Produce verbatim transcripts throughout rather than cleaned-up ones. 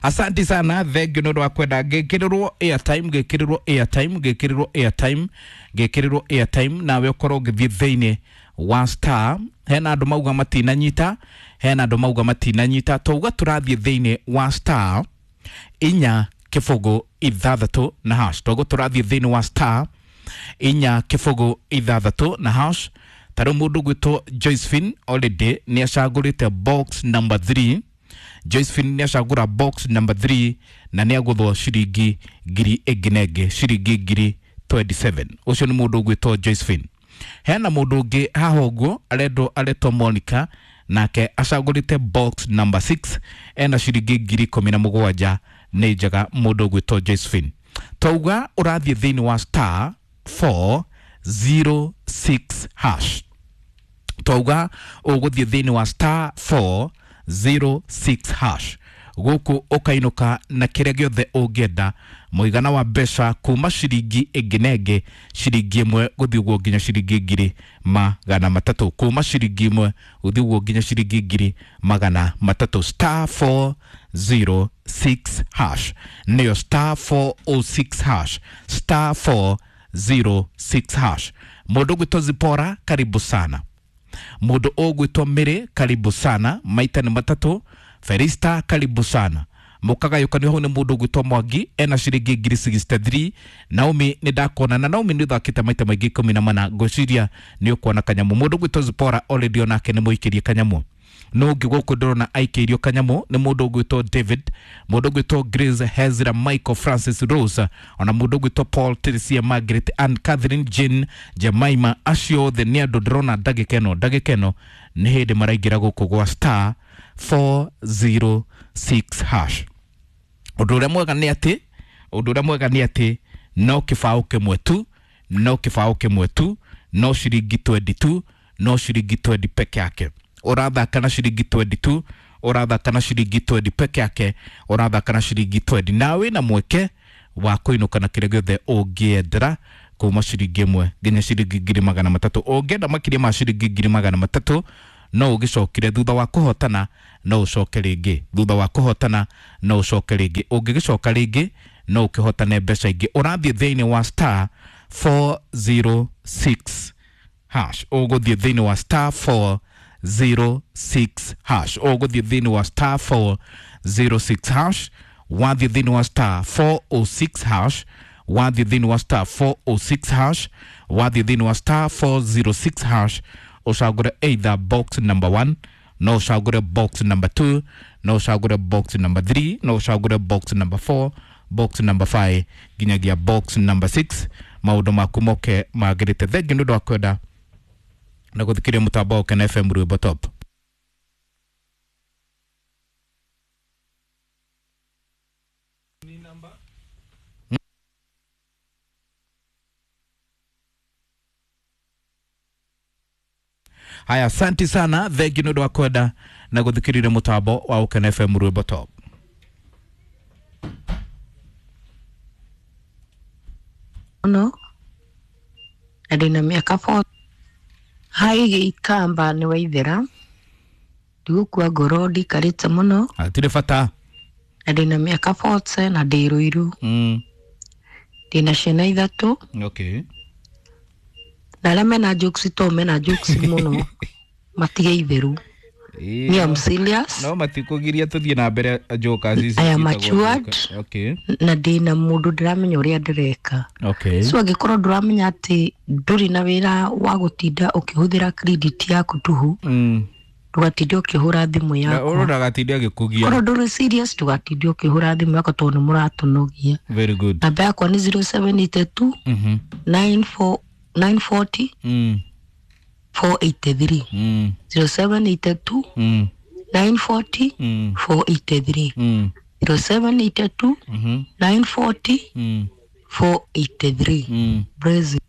Asante sana, thank you nĩ ũndũ wa kwenda ngĩkĩrĩrwo airtime, ngĩkĩrĩrwo airtime, ngĩkĩrĩrwo airtime, ngĩkĩrĩrwo airtime, nawe ũkorwo ũgĩthiĩ thĩinĩ wa star. Hena andũ mauga matinanyita, hena andũ mauga matinanyita, twauga tũrathiĩ thĩinĩ wa star inya kĩbũgũ ithathatũ na hash. Twauga tũrathiĩ thĩinĩ wa star inya kĩbũgũ ithathatũ na hash. Tarĩu mũndũ gwĩtwo Josephine already nĩ acagũrĩte box number three. Josephine nĩ acagũra box number three na nĩ agũthwo ciringi ngiri ĩngĩ na ĩngĩ, ciringi ngiri twenty-seven. Ũcio nĩ mũndũ ũgwĩtwo Josephine. Hena mũndũ ũngĩ haha ũguo arendwo aretwo Monica, nake acagũrĩte box number six, ena ciringi ngiri ikũmi na mũgwanja. Nĩ njega mũndũ ũgwĩtwo Josephine. Twauga ũrathiĩ thĩinĩ wa star four zero six hash. Twauga ũgũthiĩ thĩinĩ wa star four zero six hash. Gũkũ ũkainũka na kĩrĩa gĩothe ũngĩenda, mũigana wa mbeca kuma ciringi ĩngĩ na ĩngĩ, ciringi ĩmwe gũthiĩ ũguo nginya ciringi ngiri magana matatũ, kuma ciringi ĩmwe gũthiĩ ũguo nginya ciringi ngiri magana matatũ. Star four zero six hash nĩyo star four oh six hash, star four zero six hash. Mũndũ ũgwĩtwo Zipora, karibu sana. Mũndũ ũgwĩtwo Mĩrĩ, karibu sana. Maita nĩ matatũ. Felista, karibu sana. Mũkagayũkanio hau nĩ mũndũ ũgwĩtwo Mwangi, ena ciringi ngiri sixty-three. Naomi nĩ ndakuona, na Naomi nĩ ũthakĩte maita maingĩ ikũmi na mana, ngwĩciria nĩ ũkuona kanyamũ. Mũndũ ũgwĩtwo Zipora already onake nĩ mũikĩrie kanyamũ. No ũngĩ gũkũ ndĩrona aikĩirio kanyamũ nĩ mũndũ ũgwĩtwo David, mũndũ ũgwĩtwo Grace, Hezra, Michael, Francis, Rose, ona mũndũ ũgwĩtwo Paul, Teresia, Margaret, Ann, Catherine, Jane, Jemima. Acio othe nĩ andũ ndĩrona ndagĩka ĩno, ndagĩka ĩno nĩ hĩndĩ maraingĩra gũkũ gwa star four zero six hash. Ũndũ ũrĩa mwega nĩ atĩ, ũndũ ũrĩa mwega nĩ atĩ no kĩbaũ kĩmwe tu, no kĩbaũ kĩmwe tu, no ciringi twenty-two, no ciringi twenty peke yake. Ũrathaka na ciringi twenty-two, ũrathaka na ciringi twenty peke yake, ũrathaka na ciringi twenty. Na wĩna mweke wa kũinũka na kĩrĩa gĩothe ũngĩendera kuma ciringi ĩmwe nginya ciringi ngiri magana matatũ. Ũngĩenda makĩria ma ciringi ngiri magana matatũ, no ũgĩcokire thutha wa kũhotana, no ũcoke rĩngĩ thutha wa kũhotana, no ũcoke rĩngĩ. Ũngĩgĩcoka rĩngĩ no ũkĩhotane mbeca ingĩ. Ũrathiĩ thĩinĩ wa star four zero six hash. Ũgũthiĩ thĩinĩ wa star four zero six hash. Ũgũthiĩ thĩinĩ wa star four zero six hash. Wathiĩ thĩinĩ wa star four oh six hash. Wathiĩ thĩinĩ wa star four oh six hash. Wathiĩ thĩinĩ wa star four zero six hash. Ũcagũre either box number one, no ũcagũre box number two, no ũcagũre box number three, no ũcagũre box number four, box number five nginyagia box number six. Maũndũ maku moke magĩrĩte. Thengiũ nĩ ũndũ wa kwenda na gũthikĩrĩria mũtambo wa Ũkena F M Rwĩmbo Top. Haya, asante sana, thengiũ nĩ ũndũ wa kwenda na gũthikĩrĩria mũtambo wa Ũkena F M Rwĩmbo Top. No, na ndĩna mĩaka forty. Hai gĩikamba nĩ waithera, ndigũkua ngoro ndikarĩte mũno. Hatirĩ bata. Na ndĩna mĩaka forty na ndĩ Ruiru. Mm. Ndĩna ciana ithatũ. Okay. Na arĩa mena jokes to mena jokes mũno matige itheru. Me, I'm serious. No matikũgiria tũthiĩ na mbere jokers ici I am ciĩtagwo matured. joker. Okay. Na ndĩna mũndũ ndĩramenya ũrĩa ndĩreka. Okay. So angĩkorwo ndũramenya atĩ ndũrĩ na wĩra wa gũtinda ũkĩhũthĩra credit yaku tũhũ, Mm. ndũgatinde ũkĩhũra thimũ Na yaku. ũrona ndagatinde agĩkũgia. Korwo ndũrĩ serious ndũgatinde ũkĩhũra thimũ yaku tondũ nĩ mũratũnogia. Very good. Namba yakwa nĩ zero seven eight two Mhm. nine four nine forty Mm. four eight three. Mm. zero seven eight two Mm. nine forty Mm. four eight three. Mm. zero seven eight two Mhm. nine forty Mm. four eight three. Mm. Brazil.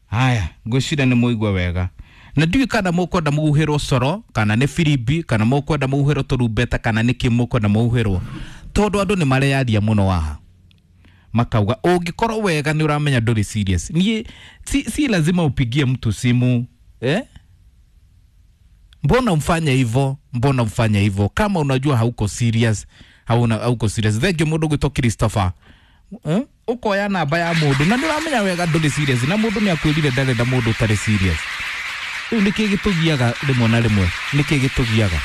Haya, ngwĩciria nĩ mũigua wega. Na ndiũĩ kana mũkwenda mũhuhĩrwo coro kana nĩ firimbi kana mũkwenda mũhuhĩrwo tũrumbeta kana nĩkĩ mũkwenda mũhuhĩrwo, tondũ andũ nĩ mareyaria mũno haha makauga ũngĩkorwo wega nĩ ũramenya ndũrĩ serious. Niĩ si, si lazima upigie mtu simu eh? Mbona umfanye hivyo? Mbona umfanye hivyo kama unajua hauko serious? Hauna hauko serious. Thank you mũndũ gwĩtwo Christopher. Eh? Ũkoya namba ya mũndũ na nĩ ũramenya wega ndũrĩ serious, na mũndũ nĩ akwĩrire ndarenda mũndũ ũtarĩ serious. Rĩu nĩkĩ gĩtũgiaga rĩmwe na rĩmwe? Nĩkĩ gĩtũgiaga?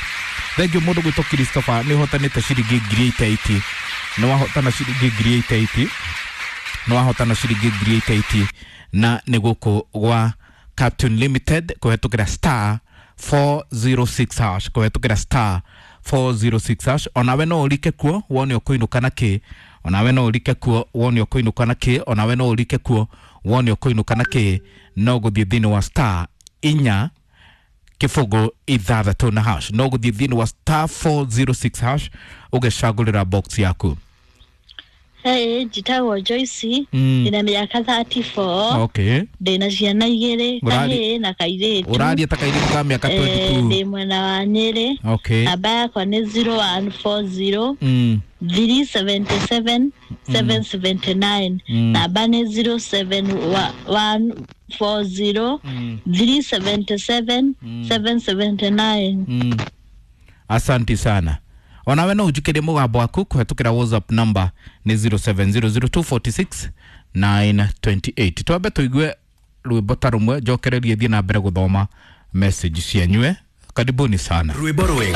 Thank you mũndũ gwĩtwo Christopher, nĩ ũhotanĩte ciringi ngiri eighty. Nĩ wahotana ciringi ngiri eighty, nĩ wahotana ciringi ngiri eighty, na nĩ gũkũ gwa Captain Limited kũhetũkĩra star four zero six hash, kũhetũkĩra star four zero six hash. Onawe no ũrike kuo wone ũkũinũka na kĩ. Onawe no ũrike kuo wone ũkũinũka na kĩ. Onawe no ũrike kuo wone ũkũinũka na kĩ. No gũthiĩ thĩinĩ wa star inya kĩbũgũ ithathatũ na hash. No gũthiĩ thĩinĩ wa star four zero six hash ũgecagũrĩra box yaku. Hey, njĩtagwo Joyce. Mm. Ndĩna mĩaka thirty-four. Okay ndĩna ciana igĩrĩ, Ũrari- kahĩĩ na kairĩtu. Ũraria ta kairĩtu ka mĩaka Eh, twenty-two. Ndĩ mwena wa Nyĩrĩ. Okay namba yakwa nĩ zero one four zero mm. three seven seven seven seven nine. Mm. Namba nĩ zero seven one four zero Mm. three seven seven seven seven nine. Mm. Asanti sana. Onawe no ũnjikĩrie mũgambo waku kũhetũkĩra WhatsApp number nĩ zero seven zero zero two four six nine two eight. Twambe tũigue rwĩmbo ta rũmwe, njokererie thiĩ na mbere gũthoma message cianyue. Karibuni sana. Rwĩmbo rwega.